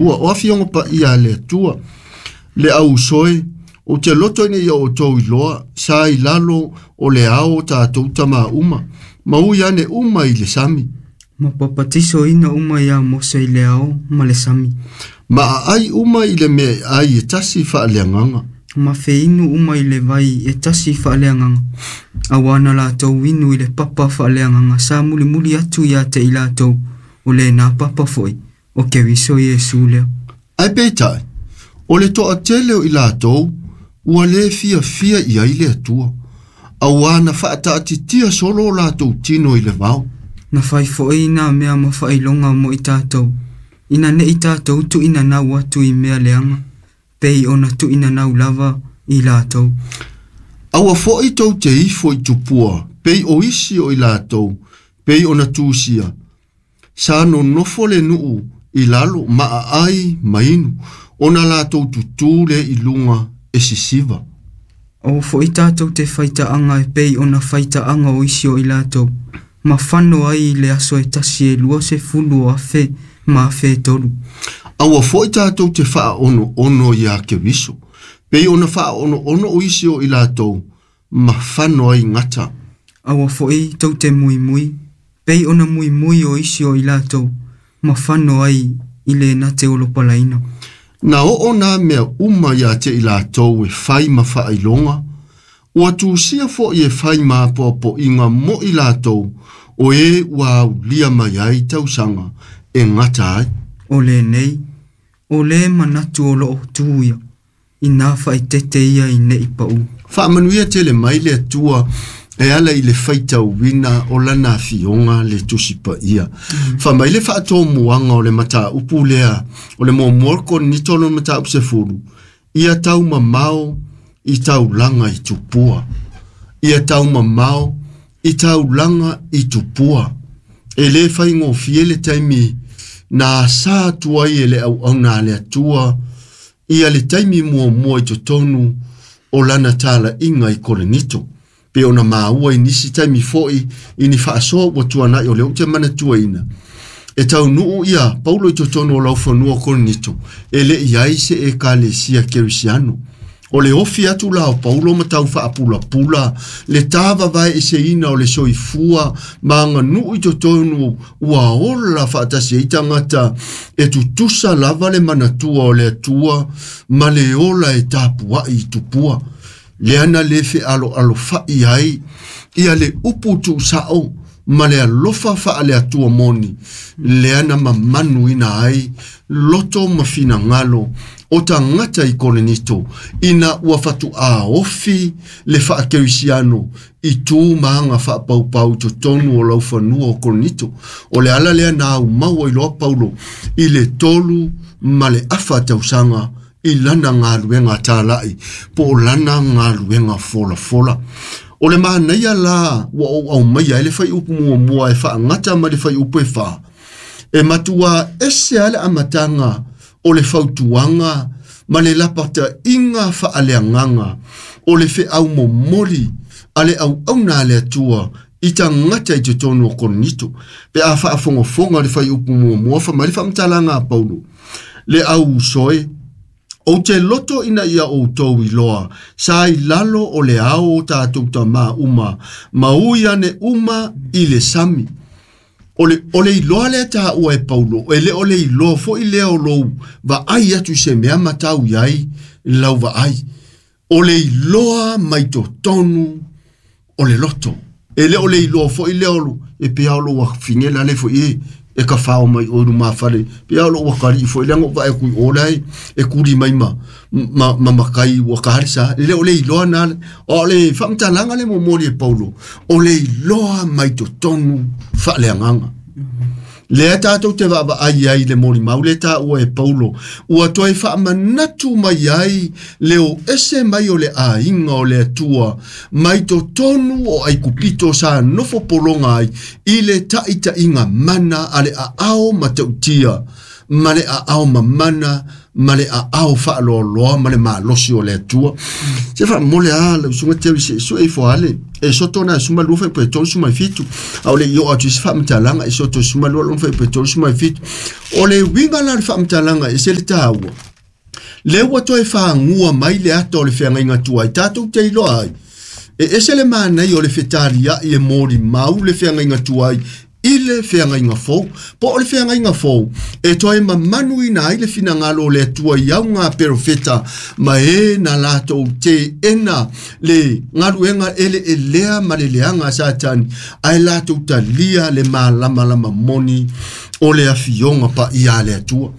Ua o afioga paia a le Atua, le au uso e, ou te loto ina ia outou iloa, sa i lalo o le ao o tatou tamā uma, ma ui ane uma i le sami. Ma papatisoina uma iā Mose i le ao ma le sami. Ma aai uma i le meaai e tasi faaleagaga. Ma feinu uma i le vai e tasi faaleagaga, auā na latou inu i le papa faaleagaga sa mulimuli atu ia te i latou, o lena papa foi, o Keriso Iesu lea. Ae peitai, o le toatele o i latou ua lē fiafia i ai le Atua, auā na faataatitia solo o latou tino i le vao. Na fai foi nā mea ma faailoga mo i tatou, ina ne i tatou tuuinanau atu i mea leaga, pei ona tuuinanau lava i latou. Aua foi tou te ifo i tupua, pei o isi o i latou, pei ona tusia, sa nonofo le nuu i lalo ma aai ma inu, ona latou tutū lea i luga e sisiva. Aua foi tatou te faitaaga e pei ona faitaaga o isi o i latou, ma fano ai i le aso e tasi e 20,000 ma 3,000. Aua foi tatou te faaonoono iā Keriso, pei ona faaonoono o isi o i latou, ma fano ai gata. Aua foi tou te muimui, pei ona muimui o isi o i latou, ma fano ai i le na te olopalaina. Na oo nā mea uma iā te i latou e fai ma faailoga, ua tusia foi e fai ma apoapoiga mo i latou, o e ua aulia mai ai tausaga e gata ai. O lenei, o le manatu o loo tu ia, inā faaeteete ia i nei paū. Faamanuia tele mai le Atua e ala i le faitauina o lana afioga le Tusi Paia. Fai mai le faatomuaga o le mataupu lea, o le muamua Korinito lona mataupu 10, ia taumamao i taulaga i tupua. Ia taumamao i taulaga i tupua. E lē faigofie le taimi na asā atu ai e le auauna a le Atua ia le taimi muamua i totonu o lana talaiga i Korinito. Pe ona maua i nisi taimi foi i ni faasoa ua tuanai o lea ou te manatuaina. E taunuu ia Paulo i totonu o laufanua o Korinito, e le i ai se ekalesia kerisiano. O le ofi atu la o Paulo ma tau faapulapula le tāvavaeeseina o le soifua ma aganuu i totonu ua ola faatasi ai tagata e tutusa lava le manatua o le Atua ma le ola e tapuai i tupua. Lea na lē fealoalofai ai ia le upu tuusao ma le alofa faaleatua moni, lea na mamanuina ai loto ma finagalo o tagata i Korinito, ina ua fatuā ofi le faakerisiano i tu ma aga faapaupau i totonu o laufanua o Korinito. O le ala lea na aumau ai loa Paulo i le 3.5 tausaga i lana galuega talai po o lana galuega folafola. O le manaia la ua ou aumaia ai le fuaiupu muamua e faagata ma le fuaiupu e 4, e matuā ese lava le amataga o le fautuaga ma le lapataiga faaleagaga o le feau momoli a le auauna a le Atua i tagata i totonu o Korinito. Pe a faafogafoga le fuaiupu muamua, fai mai le faamatalaga a Paulo, le au uso e, ou te loto ina ia outou iloa, sa i lalo o le ao o tatou tamā uma, ma ui ane uma i le sami. O le iloa lea taua e Paulo, e le o le iloa foi lea o lou vaai atu i se mea ma tau i ai lau vaai. O le iloa mai totonu o le loto. E le o le iloa foi lea o e pea o lou afine la le foi e ka whao mai o lumafale. Pea o lou akari foi lea ngo vae kui o lai e kuri mai ma ma makai ua ka sa. E le o le iloa na o le whamtalanga le momoli e Paulo. O le iloa mai totonu faaleagaga. Lea tatou te vaavaai ai le molimau le taua e Paulo, ua toe faamanatu mai ai le o ese mai o le aiga o le Atua mai totonu o Aikupito sa nofo pologa ai i le taitaiga mana a le aao matautia ma le aao mamana ma le aao faaloaloa ma le malosi o le Atua. Se faamole a lau susuga Terry seʻi sue ifo ale e soto na 12 fuaiupu e 37 a o le i oo atu i se faamatalaga e soto 12 lona fuaiupu e 37. O le uiga la o le faamatalaga e se le taua lea ua toe fagua mai le ata o le feagaiga tuai tatou te iloa ai e ese le manaia o le fetaliai e molimau le feagaiga tuai i le feagaiga fou. Po o le feagaiga fou e toe mamanuina ai le finagalo o le Atua i auga perofeta ma e na latou teena le galuega eleelea ma le leaga a Satani ae latou talia le malamalama moni o le afioga paia a le Atua.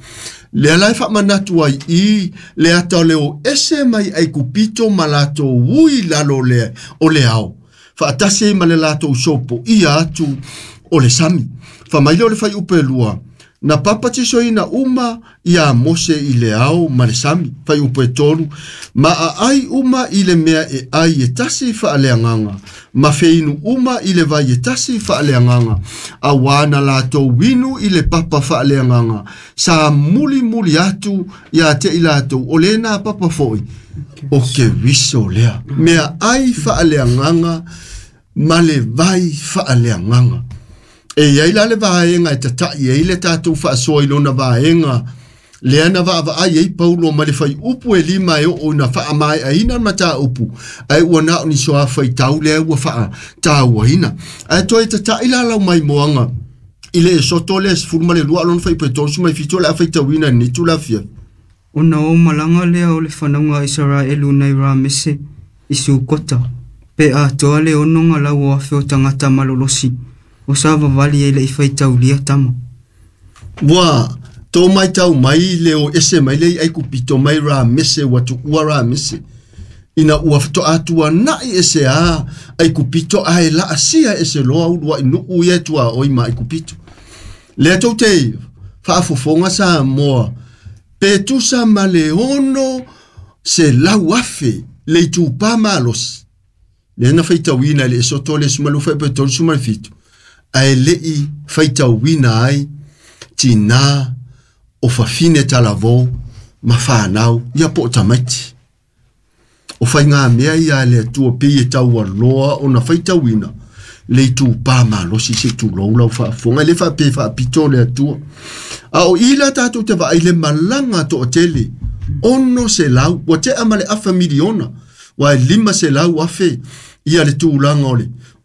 Lea la e faamanatu ai i le ata o le o ese mai Aikupito ma latou ui lalo le o le ao faatasi ai ma le latou sopoia atu o le sami. Faamaile o le fuaiupu e 2, na papatisoina uma ia Mose i le ao ma le sami. Fuaiupu e 3, ma aai uma i le mea e ai e tasi faaleagaga, ma feinu uma i le vai e tasi faaleagaga, auā na latou inu i le papa faaleagaga, sa mulimuli atu ia te i latou, o lena papa foi, o Keriso lea. Mea ai faaleagaga ma le vai faaleagaga. E iai la le vaega e tataʻi ai le tatou faasoa i lona vaega lea na vaavaai ai Paulo ma le fuaiupu e 5 e oo ina faamaeaina le mataupu ae ua na o ni soa faitau lea ua faatauaina. Ae toe tataʻi la lau maimoaga i le Esoto lea 12 lona fuaiupu e 37 o le a faitauina i lenei itula afiafi. Ona o malaga lea o le fanauga a Isaraelu nai Ramese i Sukota, pe atoa le 6 lau o afe o tagata malolosi, o sa vavali e le i faitaulia tama. Ua tō mai tau mai le o ese mai le i Aikupito mai Ramese ua tuua Ramese. Ina ua fatoatua nai ese a Aikupito ae laasia ese loa uluai nuu ia tua oi ma Aikupito. Lea tou te faafofoga Samoa pe tusa ma le 600,000 le itupā malosi. Lea na faitauina i le Esoto le 12 fuaiupu e 37 ae leʻi faitauina ai tinā o fafine talavou ma whanau ia po o tamaiti. O whai mea ia le Atua pei e taualoa ona faitauina le itupā malosi se tulou lau faafofoga e le faapea faapito le Atua. A o i la tatou te vaai le malaga toatele 600 ua tea ma le afa miliona ua e 500,000 ia le tulaga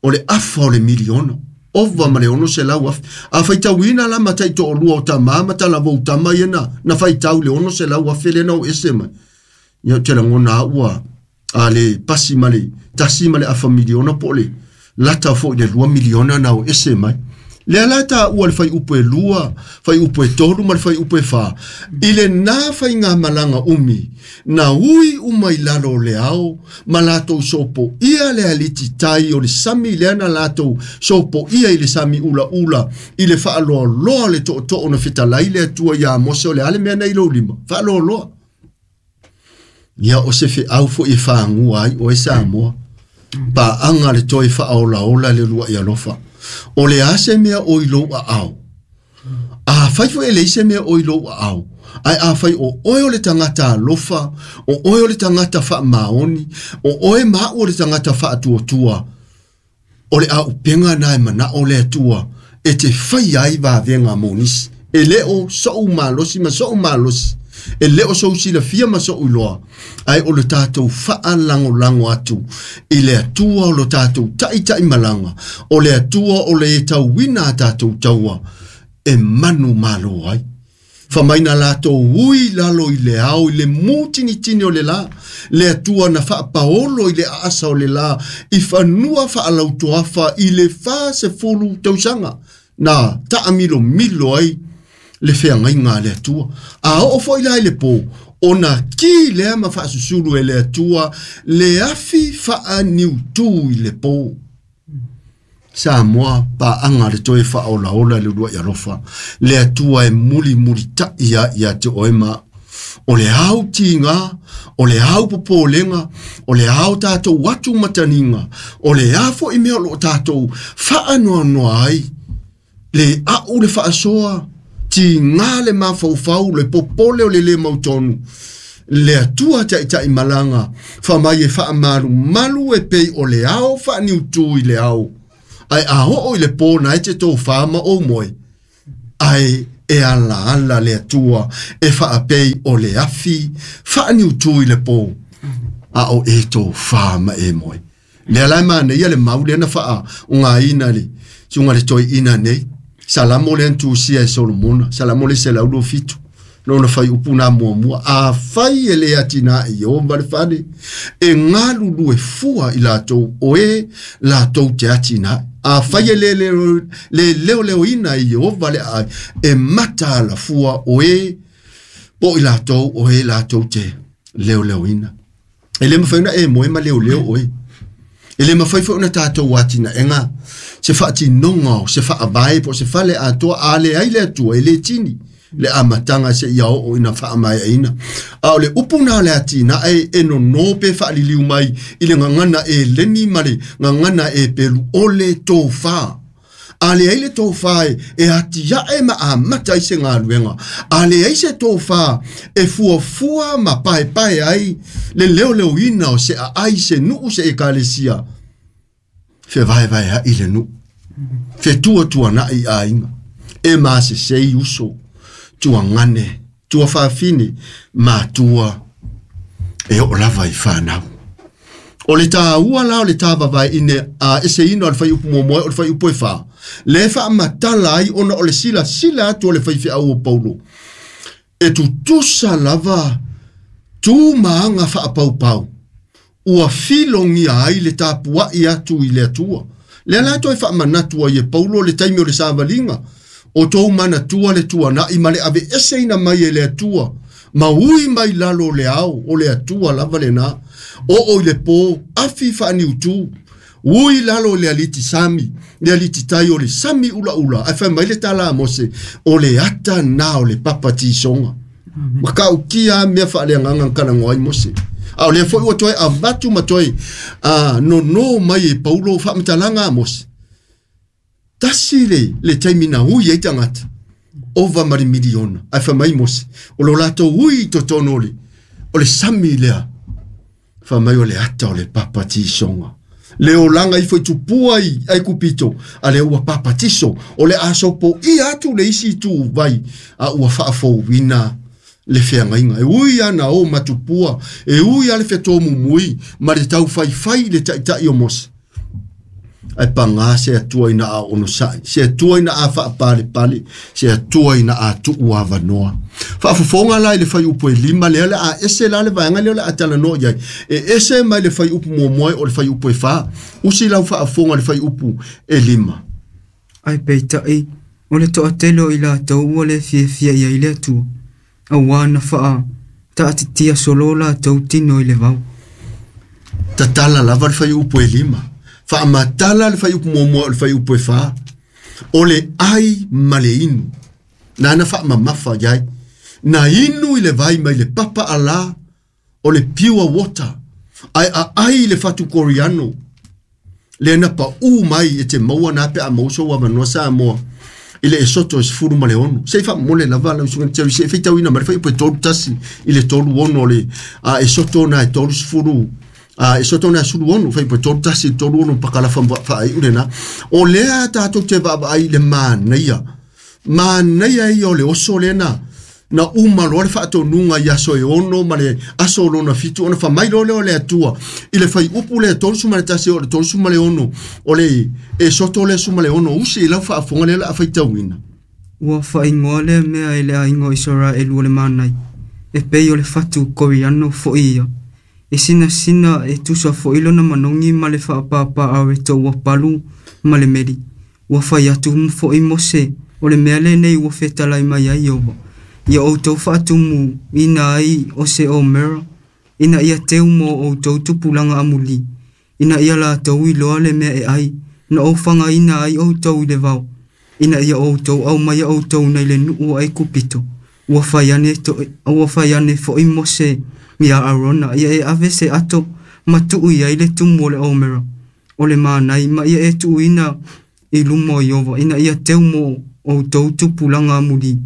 o le afa o le miliona. Ova ma le 600,000. A faitauina la ma taitoalua o tamā ma talavou tama ia na faitau le 600,000 lea na o ese mai. Ia ou te lagona au ua a le pasi ma le tasi ma le afa miliona po o le lata foi le 2 miliona na o ese mai. Lea la taua le fuaiupu e 2, fuaiupu e 3 ma le fuaiupu e 4. I lena faigamalaga umi, na ui uma i lalo o le ao, ma latou sopoia le alititai o le sami lea na latou sopoia i le sami ulaula, i le faaloaloa o le tootoo na fetalai le Atua ia Mose o le a le mea nei lou lima, faaloaloa. Ia o se feau foi e fagua ai oe Samoa. Paaga le toe faaolaola le luaʻi alofa. O le a se mea o i lou aao. A fai foi e leai se mea o i lou aao. Ae a fai o oe o le tagata alofa, o oe o le tagata faamaoni, o oe ma au o le tagata faatuatua, o le auupega na e manao le Atua e te fai ai vavega mo nisi. E le o sou malosi ma sou malosi, e le o sou silafia ma sou iloa, ae o le tatou faalagolago atu i le Atua o lo tatou taitaimalaga, o le Atua o le tauina a tatou taua e manu malo ai. Famaina latou ui lalo i le ao i le mutinitini o le la, le Atua na faapaolo i le aasa o le la, i fanua faalautoafa i le 40 tausaga, na taamilomilo ai le feagaiga a le Atua. A oo foi la i le pō, ona ki lea ma faasusulu e le Atua le afi faaniutū i le pō. Samoa paaga le toe faaolaola le uluai alofa. Le Atua e mulimulitaʻi ai ia te oe ma o le au tiga, o le au popolega, o le ao tatou atu mataniga, o le a foi mea o loo tatou faanoanoa ai le au le faasoa Tigā le mafaufau le popole o le lē mautonu le Atua taʻitaʻimalaga faamai e faamalumalu e pei o le ao faaniutū i le ao ae a oo i le pō na e te tofā ma ou moe ae e alaala le Atua e faapei o le afi faaniutū i le pō a o e tofā ma e moe. Lea la e manaia le mau lea na faaogaina le suga le toeaina nei Salamo lea na tusia e Solomona Salamo le 127 lona faiupu na muamua afai e le atinae Ieova le fale e galulue fua i latou o e latou te atinae afai e le leoleoina e Ieova le aai e mata alafua o e po i latou o e latou te leoleoina. E le mafai ona e moe ma leoleo oe. E le mafai foi ona tatou atinaega se faatinoga o se faavae po o se fale atoa a leai le Atua e lē tini le amataga seia oo ina faamaeaina. A o le upu na o le atinae e nonō pe faaliliu mai i le gagana e leni ma le gagana e pelu o le tofā. A leai le tofā e atiae ma amata ai se galuega. A leai se tofā e fuafua ma paepae ai le leoleoina o se aai se nuu se ekalesia. Fevaevaeaʻi le nuu. Fetuatuanaʻi aiga. E masesei uso. Tuagane, tuafafine, matua e oo lava i fanau. O le tāua la o le tāvavaeʻine a eseina o le faiupu muamua o le faiupu e fā. Le faamatala ai ona o le silasila atu o le faifeau o Paulo. E tutusa lava tu ma aga faapaupau. Ua filogia ai le tapuaʻi atu i le Atua. Lea la toe faamanatu ai e Paulo le taimi o le savaliga. O tou manatua le tuanaʻi ma le aveeseina mai e le Atua. Ma ui mai lalo o le ao o le Atua lava lenā. Oo i le pō afi faaniutū. Ui lalo o le aliti sami, le aliti tai o le sami ulaula. Ae fai mai le tala a Mose, o le ata na o le papatisoga. Ma kaukia mea faaleagaga kalagoa ai Mose. A o lea foi ua toe avatu ma toe nonō mai e Paulo faamatalaga a Mose. Tasi le taimi na ui ai tagata. Ova ma le miliona. Ae fai mai Mose. O lo latou ui i totonu o le sami lea. Fai mai o le ata o le papatisoga. Le olaga ifo i tupua i Aikupito a le ua papatiso o le asopoia atu le isi itu vai a ua faafouina le feagaiga. E ui ana o matupua, e ui a le fetomumui ma le taufaifai i le taʻitaʻi o Mose. Ae pagā se Atua ina a onosaʻi, se Atua ina a faapalepale, se Atua ina a tuu avanoa. Faafofoga la i le faiupu e 5 lea le a ese la le vaega lea o le a talanoa i ai. E ese mai le faiupu muamua o le faiupu e 4. Usi lau faafofoga le faiupu e 5. Ae peitaʻi o le toatele o i latou ua le fiafia i ai le Atua. Auā na faataatitia solo latou tino i le vao. Tatala lava le faiupu e 5. Faamatala le faiupu muamua o le faiupu e 4. O le ai ma le inu. Nana faamamafa i ai. Na inu i le vai mai le papa alā o le pure water. Ae aai i le fatu koriano. Le na paū mai e te maua na pe a maua sou avanoa Samoa. I le Esoto e 16. Se i faamomole lava lau susuga Jerry se i faitauina mai le faiupu e 31 i le 36 o le Esoto na e 30 Esoto na 16 faiupu e 31 i le 36 pakalafa faaiu lena. O lea tatou te vaavaai i le manaia. Manaia ia o le oso lena. Na uma loa le faatonuga i aso e 6 ma le aso o lona 7 ona faamai loa lea o le Atua i le faiupu lea 31 o le 36 o le Esoto lea 16 usi i lau faafofoga lea o le a faitauina. Ua faaigoa lea mea e le aiga o Isaraelu o le manai. E pei o le fatu koriano foi ia. E sinasina e tusa foi lona manogi ma le faapapaareto ua palu ma le meli. Ua fai atu foi Mose o le mea lenei ua fetalai mai ai Ieova. Ia outou faatumu ina ai o se omera, ina ia teu mo outou tupulaga amulī, ina ia latou iloa le mea e ai, na ou fagaina ai outou i le vao, ina ia outou aumaia outou nai le nuu o Aikupito. Ua fai ane foi Mose ia Arona, ia e ave se ato ma tuu i ai le tumu o le omera, o le manai ma ia e tuuina i luma o Ieova, ina ia teu mo outou tupulaga amulī.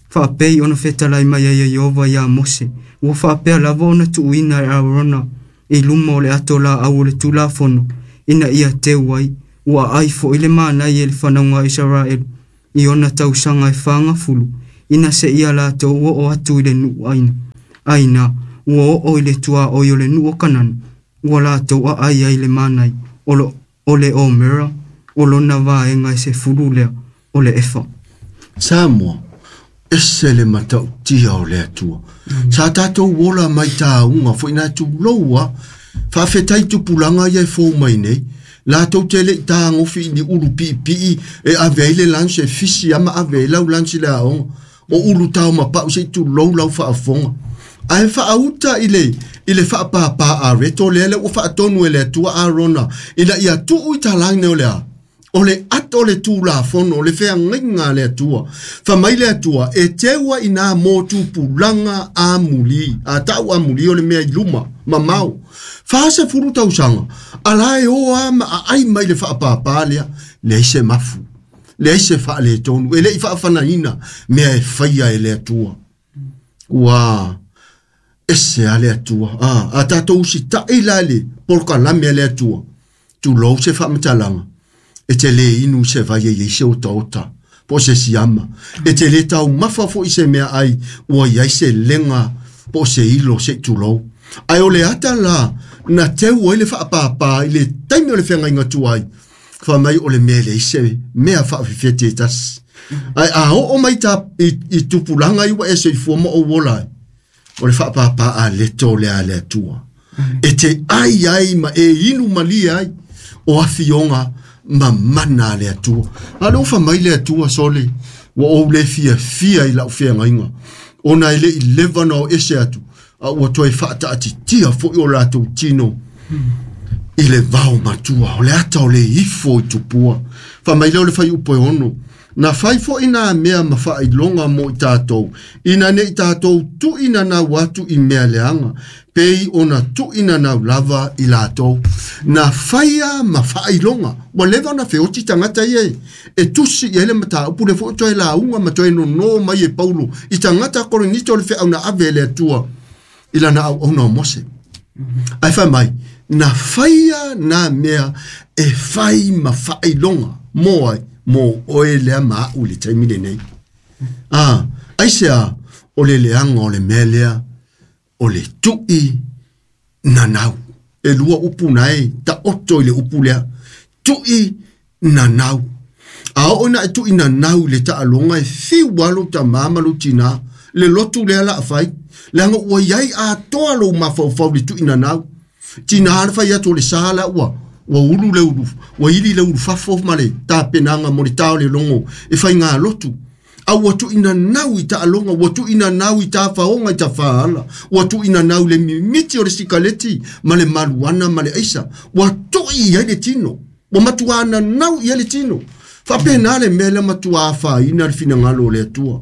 Faapei ona fetalai mai ai e Ieova iā Mose, ua faapea lava ona tuuina e Aarona i luma o le ato laau o le Tulafono, ina ia teu ai, ua aai fo'i le manai e le fanauga a Isaraelu i ona tausaga e 40, ina seia latou oo atu i le nuu aina. Aina, ua oo i le tuaoi o le nuu o Kanana, ua latou aai ai le manai o le omera, o lona vaega e 10 lea o le efa. Samoa, ese le matautia o le Atua. Sa tatou ola mai tāuga foi na tuloua, faafetai tupulaga ia e fou mai nei, latou te le'i tagofi i ni ulu piipii e ave ai le lansi e fisi ama ave ai lau lansi le aoga. O ulu tao mapa'u se'i tulou lau faafofoga. Ae faauta i le faapāpā a reto lea le ua faatonu e le Atua Arona, ina ia tuu i talāina o le a. O le ato le Tulafono, o le feagaiga a le Atua. Fai mai le Atua, e teua i nā mō tupulaga amuli, a ta'u amuli o le mea i luma, mamao. 40 tausaga, ala e o a ma aai mai le faapāpā lea, leai se mafu, leai se faaletonu, e le'i faafanaina mea e faia e le Atua. Ua ese a le Atua. A tatou usita'i la le polokalame a le Atua, tulou se faamatalaga, e te lē inu se vai e iai se otaota, po o se siama. E te lē taumafa fo'i se mea ai, ua iai se lega po o se ilo se'i tulou. Ae o le ata la, na teu ai le faapāpā i le taimi o le feagaiga tuai, fai mai o le mea e leai se mea faafefete e tasi. Ae a oo mai ta i tupulaga i ua e soifua ma ou ola ai, o le faapāpā a leto le a le Atua. E te ai ai ma e inu malie ai, o afioga ma mana a le Atua. A le ofa mai le Atua sole, ua ou le fiafia i lau feagaiga, ona e le'i leva na o ese atu, a ua toe faataatitia fo'i o latou tino i le vao matua, o le ata o le ifo i tupua. Fai mai lea o le fuaiupu e 6, na fai fo'i nā mea ma faailoga mo i tatou, ina ne'i tatou tu'inanau atu i mea leaga, pei ona tu'inanau lava i latou. Na faia ma faailoga, ua leva ona feoti tagata ia e tusi i ai le mataupu le fo'i toe lauga ma toe nonō mai e Paulo i tagata Korinito le feau na ave e le Atua i lana auauna o Mose. Ae fai mai, na faia nā mea e fai ma faailoga mo ai, mo oe lea ma a'u i le taimi lenei. Aisea, o le leaga o le mea lea, o le tu'i nanau. E lua upu na e ta'oto i le upu lea. Tu'i nanau. A oo ina e tu'i nanau i le taaloga e fiu lava lou tamā ma lou tinā, le lotu lea la fai, leaga ua iai atoa lou mafaufau i le tu'i nanau. Tinā le fai atu o le sa la ua ulu le ulu, ua ili le ulu fafo ma le tapenaga mo le tā o le logo e faiga lotu. A ua tu'inanau i taaloga, ua tu'inanau i tafaoga i tafaala, ua tu'inanau le mimiti o le sikaleti ma le maluana ma le aisa, ua tu'i i ai le tino, ua matuā nanau i ai le tino. Faapena le mea lea matuā afaina le finagalo o le Atua.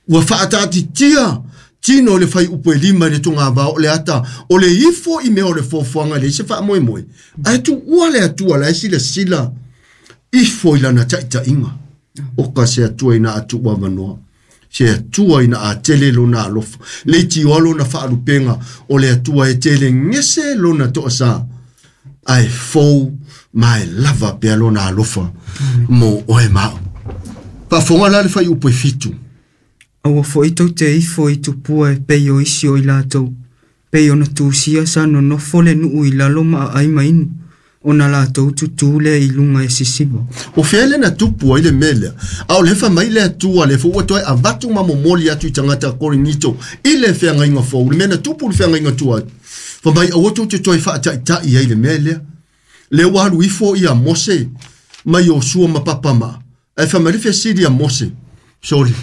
Ua faataatitia tino le fuaiupu e 5 i le togavao o le ata o le ifo i mea o le foafoaga e leai se faamoemoe. Ae tuua le Atua la e silasila ifo i lana taʻitaʻiga. O ka se Atua ina a tuu avanoa, se Atua ina a tele lona alofa, leitioa lona faalupega, o le Atua e tele gese lona toasā, ae fou ma e lava pea lona alofa mo oe ma a'u. Faafofoga la le fuaiupu e 7. Aua fo'i tou te ifo i tupua e pei o isi o i latou, pei ona tusia sa nonofo le nuu i lalo ma aai ma inu, ona latou tutū lea i luga e sisiva. O fea le na tupu ai le mea lea, a o le fai mai le Atua le foi ua toe avatu ma momoli atu i tagata Korinito i le feagaiga fou, le mea na tupu i le feagaiga tuai. Fai mai aua tou te toe faataʻitaʻi ai le mea lea. Le ua alu ifo ia Mose mai Iosua ma Papama'a, ae fai mai le fesili a Mose, sole,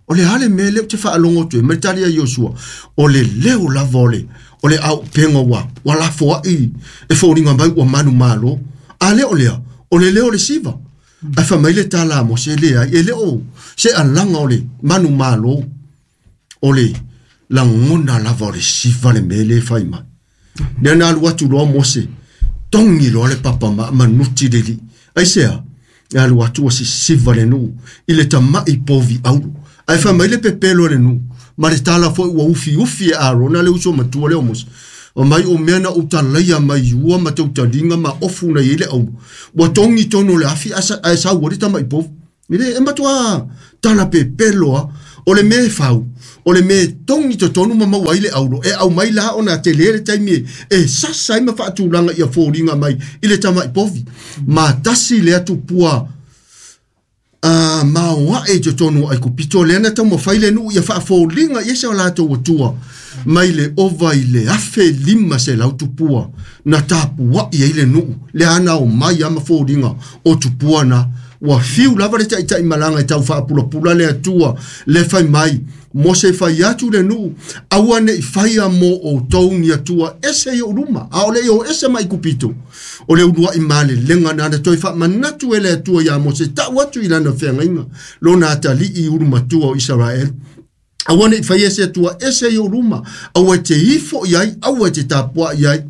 o le a le mea lea ou te faalogo atu ai, mai le tali a Iosua, o le leo lava o le aupega ua lafoa'i e foliga mai ua manumalo. A lea o lea, o le leo o le siva. Ae fai mai le tala a Mose, leai, e le o se alaga o le manumalo, o le lagona lava o le siva le mea lea e fai mai. Lea na alu atu loa Mose, togi loa le papa manuti le li'i. Aisea, e alu atu ua sisiva le nuu i le tama'i povi auro. Ae fai mai le pepelo a le nuu ma le tala foi ua ufiufi e Arona le uso matua lea o Mose. O mai o mea na ou talaia mai ua ma tautaliga ma ofu na i ai le auro. Ua togi tonu o le afi ae sau ai le tamai povi. E le e matua tala pepelo a. O le mea e fau, o le mea e togi totonu ma maua ai le auro, e aumai la ona tele le taimi e sasa ai ma faatulaga ia foliga mai i le tamai povi. Ma tasi lea tupua maoae i totonu o Aikupito lea na taumafai le nuu ia faafoliga i se o latou atua mai le ova i le 1,500 tupua na tapuai ai le nuu lea na o mai ama foliga o tupua na ua fiu lava le taitai malaga e tau faapulapula le atua le fai mai Mose fai atu le nuu aua nei faia mo outou ni atua ese i ou luma a o le i o ese mai Aikupito o le uluai malelega na na toe faamanatu e le Atua iā Mose ta'u atu i lana feagaiga lona atalii ulu matua o Isaraelu aua nei faia se atua ese i ou luma aua e te ifo i ai aua e te tapua'i ai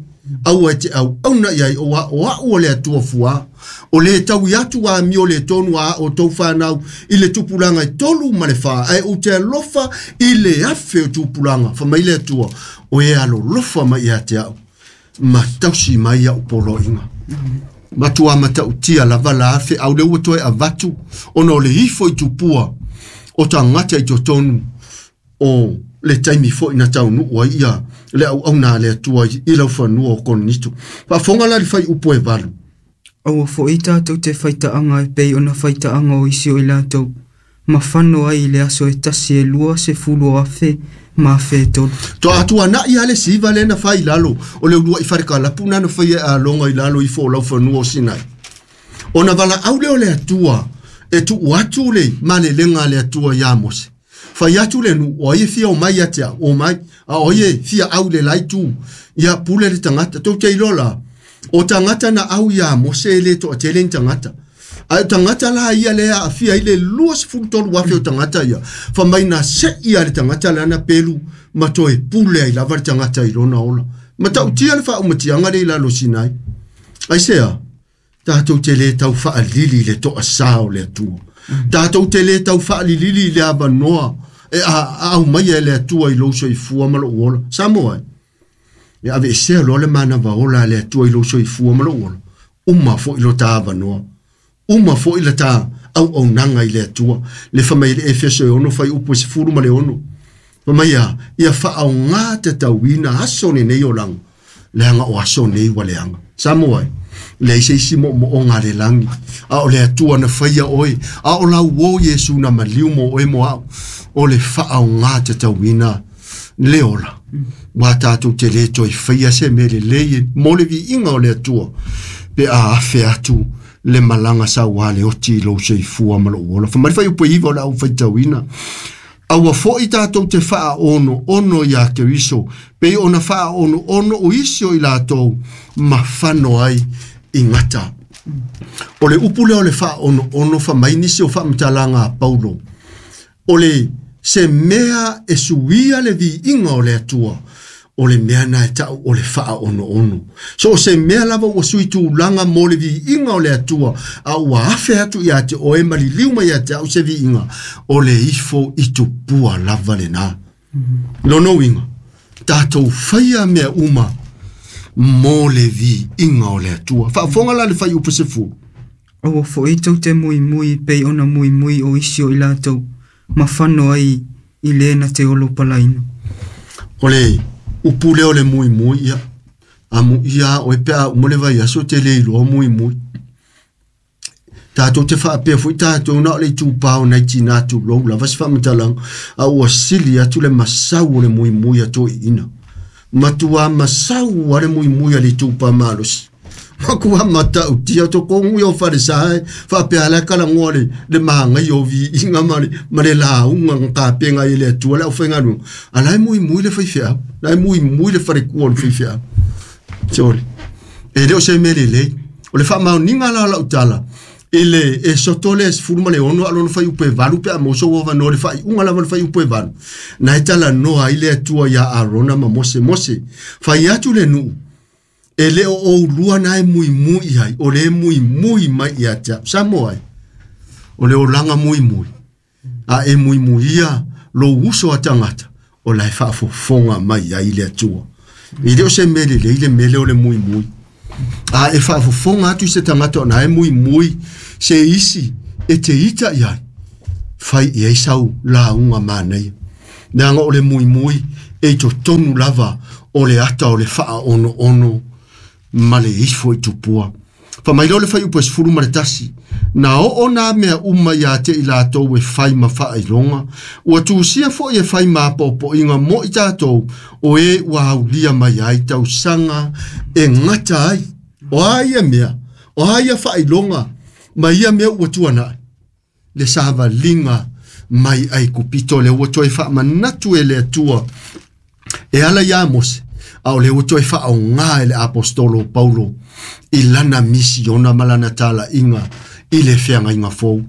aua e te auauna i ai o a'u o le Atua fuā o le taui atu amio le tonu a o tou whanau i le tupulaga e 3 ma le 4 ae ou te alofa i le 1,000 o tupulaga fai mai le Atua o e alolofa mai ia te a'u ma tausi mai a'u poloaiga matua matautia lava la feau le ua toe avatu ona o le ifo i tupua o tagata i totonu o le taimi foi na taunuu ai ia le auauna a le Atua i laufanua o Korinito. Faafofoga la le fuaiupu e 8. Aua foi tatou te faitaaga e pei ona faitaaga o isi o i latou, ma fano ai i le aso e tasi e 20,000 ma 1,300. Toa atuana'i lava le siva lea na fai i lalo o le uluai falekalapu na na faia e Aloga i lalo ifo o laufanua o Sinai. Ona valaau lea o le Atua e tuu atu le malelega a le Atua iā Mose. Fai atu le nuu, o ai e fia omai ia te au, omai, a o ai e fia au i le la itu, ia pule le tagata. Tou te iloa la, o tagata na au iā Mose e le toatele ni tagata. Ae o tagata la ia lea e aafia ai le 23,000 o tagata ia, fai mai na se'i lava le tagata lana pelu ma toe pule ai lava le tagata i lona ola. Matautia le faaumatiaga lea i lalo o Sinai. Aisea? Tatou te le tau faalili i le toasā o le Atua. Tatou te le tau faalilili i le avanoa e aumaia e le Atua i lou soifua ma lou ola. Samoa e, e aveesea loa le manava ola a le Atua i lou soifua ma lou ola, uma foi lo ta avanoa. Uma foi la ta auaunaga i le Atua. Le fai mai le Efeso e 6 fuaiupu e 16. Fai mai a, ia faaogā tatauina aso lenei olaga, leaga o aso nei ua leaga. Samoa e, leai se isi moomooga a le lagi, a o le Atua na faia oe, a o lau uō Iesu na maliu mo oe mo a'u, o le faaogā tatauina le ola. Ua tatou te le toe faia se mea lelei mo le viiga o le Atua, pe a afe atu le malaga sauā le oti i lou soifua ma lou ola. Fai mai le fuaiupu e 9 o le au faitauina. Aua foi tatou te faaonoono iā Keriso, pei ona faaonoono o isi o i latou ma fano ai i gata. O le upu lea o le faaonoono fai mai nisi o faamatalaga a Paulo, o le se mea e suia le viiga o le Atua, o le mea na e ta'u o le faaonoono. So o se mea lava ua sui tulaga mo le viiga o le Atua, a ua afe atu ia te oe ma liliu mai ia te a'u se viiga, o le ifo i tupua lava lenā. Lona uiga, tatou faia mea uma mo le viiga o le Atua. Faafofoga la le fuaiupu 10. Aua foi tou te muimui pei ona muimui o isi o i latou, ma fano ai i le na te olo palaina. O le upu lea o le muimui ia, amuia a oe pe a uma le vaiaso te le iloa muimui. Tatou te faapea foi tatou na o le itupā o nai tinā tulou lava se faamatalaga, a ua sili atu le masau o le muimui a toeaiina. Matua masau a le muimui a le itupā malosi. Matua matautia totonu ia o falesa e faapea la e kalagoa le magaia o viiga ma le lauga na tapena ai e le Atua le aufaigaluega. A la e muimui le faifeau, la e muimui le falekua o le faifeau. Sole. E le o se mea lelei. O le faamaoniga la o lau tala, i le Esoto lea e 16 a o lona fuaiupu e 8 pe a maua sou avanoa i le faaiuga lava o le fuaiupu e 8, na e talanoa ai le Atua iā Arona ma Mose. Mose, fai atu le nuu, e le o oulua na e muimui ai, o le muimui mai ia te a'u. Samoa e, o le olaga muimui, A e muimuia lou uso a tagata o la e faafofoga mai ai le Atua. E le o se mea lelei le mea lea o le muimui. A e faafofoga atu i se tagata ona e muimui se isi e te ita i ai, fai i ai sau lauga manaia. Leaga o le muimui e i totonu lava o le ata o le faaonoono ma le ifo i tupua. Fai mai lea o le fuaiupu e 11, na oo nā mea uma iā te i latou e fai ma faailoga, ua tusia foi e fai ma apoapoaiga mo i tatou, o e ua aulia mai ai tausaga e gata ai. O a ia mea, o a ia faailoga ma ia mea ua tuanai, le savaliga mai Aikupito le ua toe faamanatu e le Atua e ala iā Mose, a o le ua toe faaogā e le Aposetolo o Paulo i lana misiona ma lana talaiga i le feagaiga fou.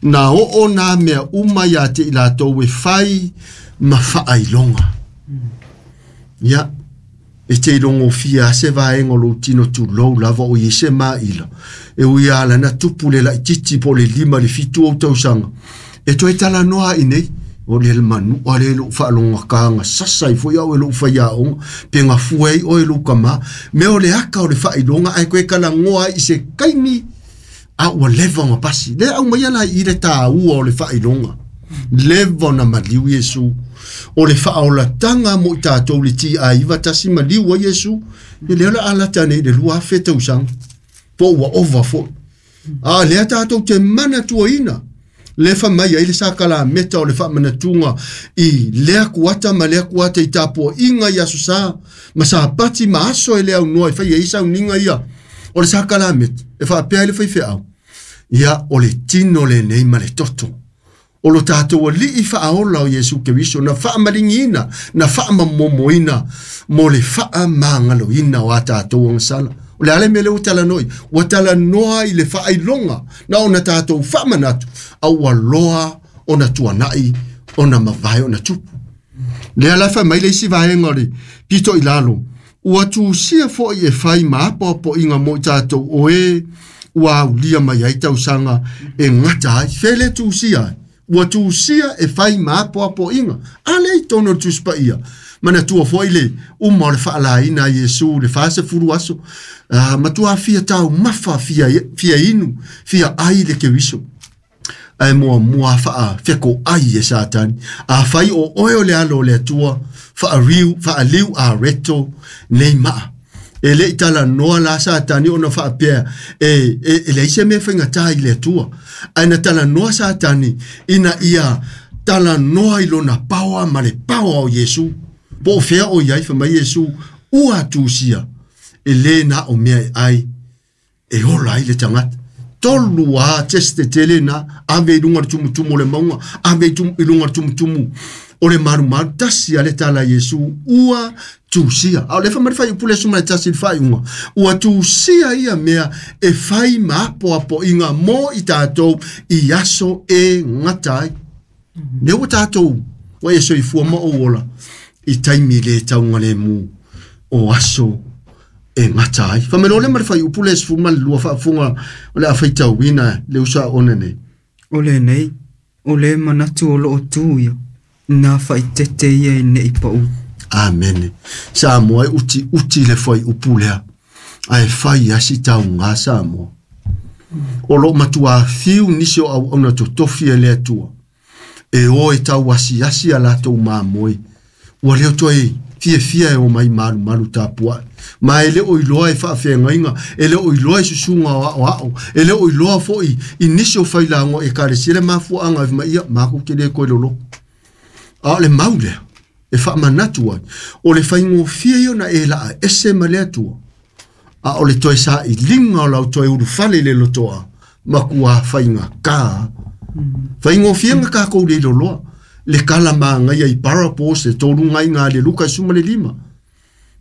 Na oo nā mea uma iā te i latou e fai ma faailoga. Ia, e te ilogofia lava se vaega o lou tino tulou lava o i ai se maila, e ui lava lana tupu le laitiiti po o le 5 i le 7 ou tausaga, e toe talanoa ai nei, o le manua le lou faalogakaga sasa ai foi au e lou faiaoga, pe gafua ai oe lou kamā, mea o le aka o le faailoga ae koe kalagoa ai i se kaimi a ua leva ona pasi. Le aumaia la i le tāua o le faailoga. Leva ona maliu Iesu. O le faaolataga mo i tatou le ti-a-iva tasi maliu ai Iesu. E lea o le a lata nei i le 2000 tausaga. Po ua ova foi. A lea tatou te manatuaina. Le fa mai ai le sakalameta o le faamanatuga i lea kuata ma lea kuata i tapuaiga i aso sa ma sapati ma aso e le aunoa e fai ai sauniga ia. O le sakalameta e faapea ai le faifeau. Ia o le tino lenei ma le toto. O lo tatou alii faaola o Iesu Keriso na faamaligiina, na faamamomoina mo le faamagaloina o a tatou agasala. O le a le mea lea ua talanoa, ua talanoa i le faailoga na ona tatou faamanatu, a ua loa ona tuanai, ona mavae, ona tupu. Lea la fai mai le isi vaega o le pito i lalo, ua tusia foi e fai ma apoapoaiga mo i tatou o e ua aulia mai ai tausaga e gata ai. Fea le tusia ai? Ua tusia e fai ma apoapoaiga. A lea i totonu o le Tusi Paia. Manatua foi le uma o le faalaina a Iesu le 40 aso, matua fia taumafa, fia inu, fia ai le Keriso. Ae muamua faafekoai e Satani. A fai o oe o le alo o le Atua, faaliu a reto nei maa. E le i talanoa la Satani ona faapea e leai se mea faigata i le Atua. Ae na talanoa Satani ina ia talanoa i lona paoa ma le paoa o Iesu. Po o fea o iai, fai mai Iesu, ua tusia e lē na o mea e ai e ola ai le tagata. Tolu a teste tele na, ave i luga o le tumutumu o le mauga, ave i luga o le tumutumu o le malumalu, tasi a le tala Iesu, ua tusia. A o le fai mai le fuaiupu le 11 i le faaiuga, ua tusia ia mea e fai ma apoapoaiga mo i tatou i aso e gata ai. Lea ua tatou, ua e soifua ma ou ola, i taimi le taugalemu o aso e gata ai. Fai mai loa le ma le fuaiupu le 12 faafofoga o le a faitauina le uso a ona nei. O lenei, o le manatu o loo tu ia, na faaeteete ia e nei pau. Amene. Samoa e uti uti le fuaiupu lea, ae fai asi taugā Samoa. O loo matua fiu nisi o auauna totofi e le Atua. E o e tau asiasi a latou mamoe. Ua leo toe fiafia e o mai malumalu tapuai. Ma e le o iloa e faafeagaiga, e le o iloa e susuga o aoao, e le o iloa foi i nisi o failago e ekalesia le mafuaaga e fai mai, ia, makou te le koe loloko. A o le mau lea e faamanatu ai, o le faigofie ia ona e laa ese ma le Atua, a o le toe sailiga o lau toe ulufale i le lotoa, matua faigata. Faigofie ga takou le iloloa. Le kala magaia i parables le tolu gaiga a le Luka 15.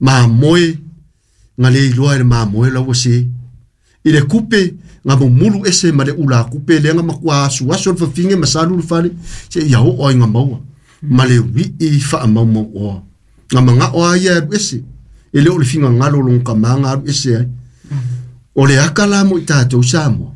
Mamoe, ga le iloa e le mamoe la ua se. I le kupe, ga mumulu ese ma le ula kupe lea ga matua asuasu o le fafine ma salu le fale, se ia oo ai ga maua. Ma le wii faamaumau oa. Ga magao a ia alu ese. E le o le figagalo o lona kamā ga alu ese ai. O le aka la mo i tatou Samoa.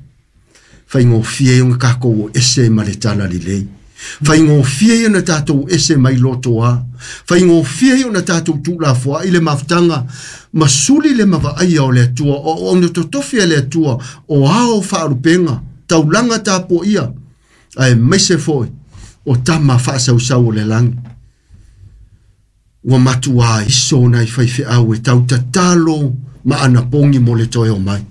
Faigofie ai ona takou o ese ma le tala lelei. Faigofie ia ona tatou ese mai lotoa. Faigofie ia ona tatou tuulafoai le mafutaga ma suli le mavaaia o le Atua, o auauna totofi a le Atua, o ao faalupega, taulaga tapuaia, aemaise foi o tama faasausau o le lagi. Ua matua iso nai faifeau e tautatalo ma anapogi mo le toe o mai.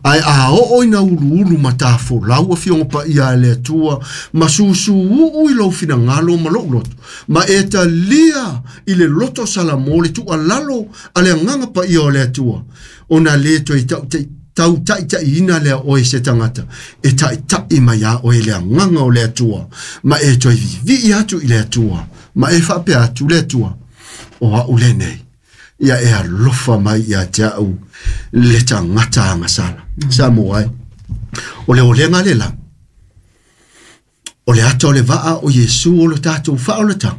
Ae a oo ina uluulu ma tafolau afioga paia a le Atua, ma susuu i lou finagalo ma lou loto, ma e talia i le loto Salamo le tuualalo a le agaga paia o le Atua, ona le toe tautaitaiina lea oe se tagata, e taitai mai a oe le agaga o le Atua, ma e toe vivii atu i le Atua, ma e faapea atu le Atua, o au lenei, ia e alofa mai ia te au le tagata agasala. Sa mo ai. O le olega le la. O le ata o le vaa o Iesu o le tātou whaolata.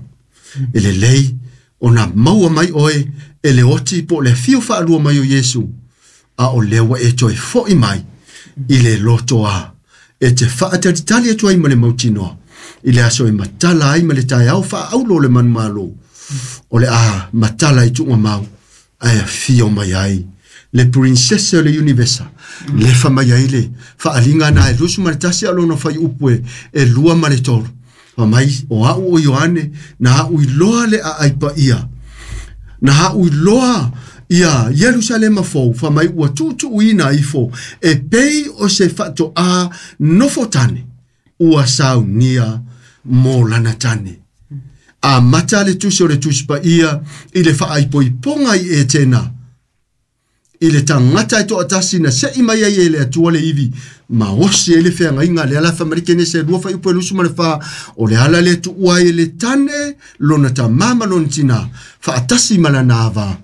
E le lei o nā maua mai oe e le oti po le fio whaalua mai o Iesu. A o lewa e toe foi mai i le lotoa. E te whaatalitali atu ai ma le mautinoa. I le aso e matala ai ma le tae au whaaulo le manumalo. O le a matala i tuunga mau, ae afio mai ai le princesse o le universa, le fa mai ai le faalinga na e 21 a lona fai upu e 2 ma le 3. Fa mai o au o Ioane, na au iloa le aai paia, na au iloa ia Ierusalema fou, fa mai ua tuutuuina ifo, e pei o se faatoa nofo tane, ua saunia mo lana tane. A mata le tusi o le tusi paia i le faaipoipoga i e tēnā. I le tagata e toatasi na se'i mai ai e le Atua le ivi, ma osi ai le feagaiga le ala whamarike ne se 2 faiupu e 24, o le ala le tuua ai e le tane, lona tamā ma lona tinā, faatasi ma lana ava,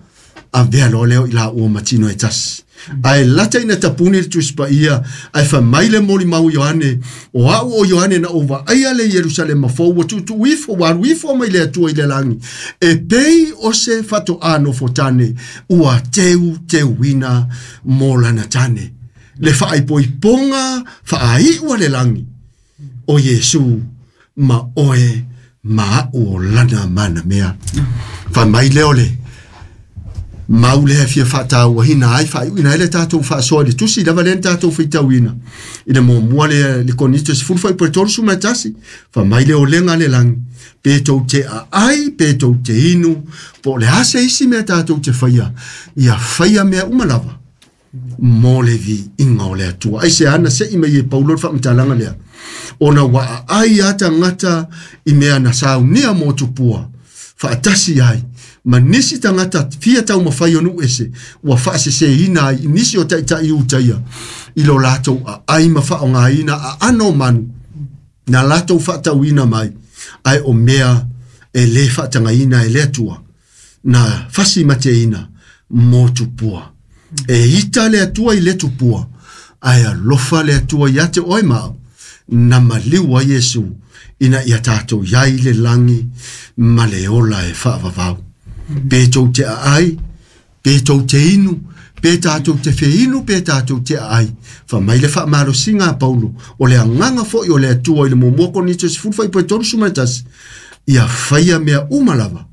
avea loa leo i la ua matino e tasi. Ae lata ina tapuni le tusi paia, ae whamai le moli mau Ioane, o au o Ioane na o vaaia le Ierusalema fou, ua tuutuu ifo, ua alu ifo mai le Atua i le lagi, e pei o se faatoa nofo tane, ua teu teuina mo lana tane. Le faaipoipoga faaiua le lagi, o Iesu ma oe ma au o lana mana mea. Whamai leo le, mau lea fia whaatauahina ai, whaaiuina ai le tātou whaasoa le tusi, lava lea tātou whitauina. I le muamua le Korinito 10 fai 31, whamai le olenga le langi, pe tou te aai, pe tou te inu, po le ase isi mea tātou te whaia, ia whaia mea uma lava, mo le vi inga o le Atua. Ai se ana se i mai e Paulo le whaamatalaga lea, ona wa aai ata ngata i mea na saunia mo tupua, whaatasi ai, ma nisi tagata fia taumafai o nuu ese, ua faaseseina ai i nisi o taʻitaʻi utaia, i lo latou aai ma faaaogāina aano o manu, na latou faatauina mai, ae o mea e lē faatagaina e le Atua, na fasi mateina mo tupua. E ita le Atua i le tupua, ae alofa le Atua ia te oe ma au, na maliu ai Iesu, ina ia tātou iai le lagi ma le ola e faavavau. Pe tou te aai, pe tou te inu, pe tātou te wheinu, pe tātou te aai. Wha mai le whaamalosiga a Paulo, o le agaga foi o le Atua i le muamua Korinito 10 fai 31, ia whaia mea uma lava,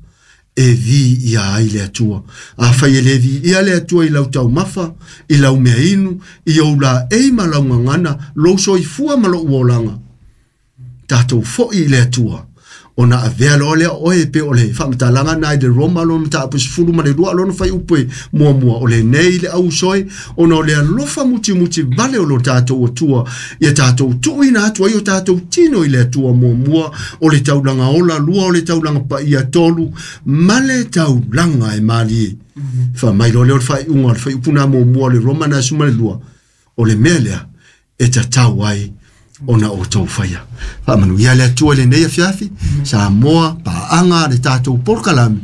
e vi ia ai le Atua. A whai e le vi ia le Atua i lau taumafa, i lau mea inu, i ou la ei ma lau ngangana, lou soifua ma lou olaga. Tātou foi i le Atua, ona avea loa lea oe pe o le faamatalaga na i le Roma lona mataupu 12 lona faiupu e muamua, o lenei le ausoe, ona o le alofa mutimuti vale o lo tātou Atua, ia tātou tuuina atu ai o tātou tino i le Atua muamua, o le taulaga ola, 2 o le taulaga paia, 3, ma le taulaga e malie. Wha mai loa lea o le faaiuga o le faiupu na muamua o le Roma na 12, o le mea lea e tatau ai ona o tau whaia. Whaamanu ia le Atua le nei afiafi, Samoa, paanga le tātou polokalame,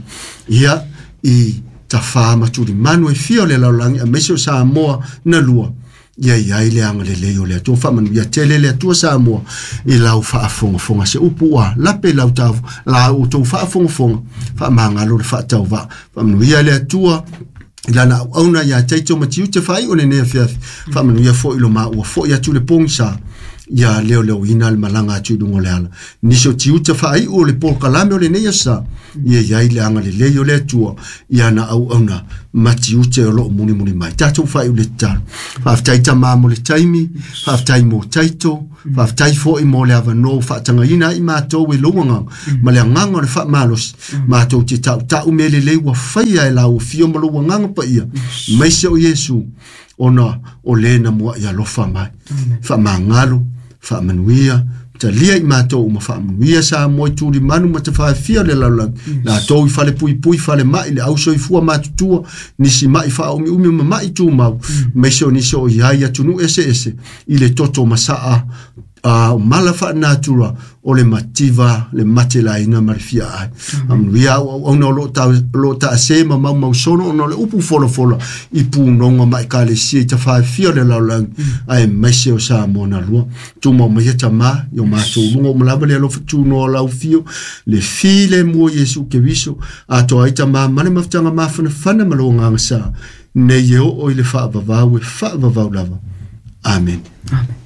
ia i tawha maturi manu e fia o le laulangi, a meise o Samoa na lua, ia i ai le anga le lei o le Atua. Whaamanu ia tele le Atua Samoa, i lau whaafongafonga se upu ua, lape lau tavu, la o tau whaafongafonga, whaamangalo le whaatau Whaamanu ia le Atua, i lana au auna ia teito ma tiute whai o le nea fiafi. Whaamanu ia fo i lo maa ua fo i atu le pongisa, Ia leoleoina le malaga atu i luga o le ala. Nisi o tiute faaiu o le polokalame o lenei aso, ia i ai le agalelei o le Atua i ana auauna ma tiute o loo mulimuli mai. Tatou faaiu le tatalo. Faafetai Tama mo le taimi, faafetai mo taito, faafetai foi mo le avanoa ua faatagaina ai matou e lou agaga ma le agaga o le faamalosi. Matou te tautau mea lelei ua faia e lau afio ma lou agaga paia, maise o Iesu, ona o le na muai alofa mai. Faamagalo, faamanuia, talia i matou uma faamanuia Samoa i tulimanu ma tafaafia o le lalolagi. Latou i fale puipui, fale mai, le ausoifua matutua, nisi mai faaumiumi ma mai tumau, maise o nisi o i ai atunuu eseese i le toto masaa o mala faanatura o le mativa, le matelaina ma le fia ai. Amanuia au auauna o loo taase ma maumausono ona o le upu folafola i punoga ma ekalesia i tafaafia o le lalolagi, ae maise o Samoa na lua. Tumau mai e Tamā i o matou luga uma lava le alofa tunoa o lau afio, le filemu o Iesu Keriso, atoa ai Tamā ma le mafutaga mafanafana ma lou agaga sa, nei e oo i le faavavau e faavavau lava. Amen. Amen.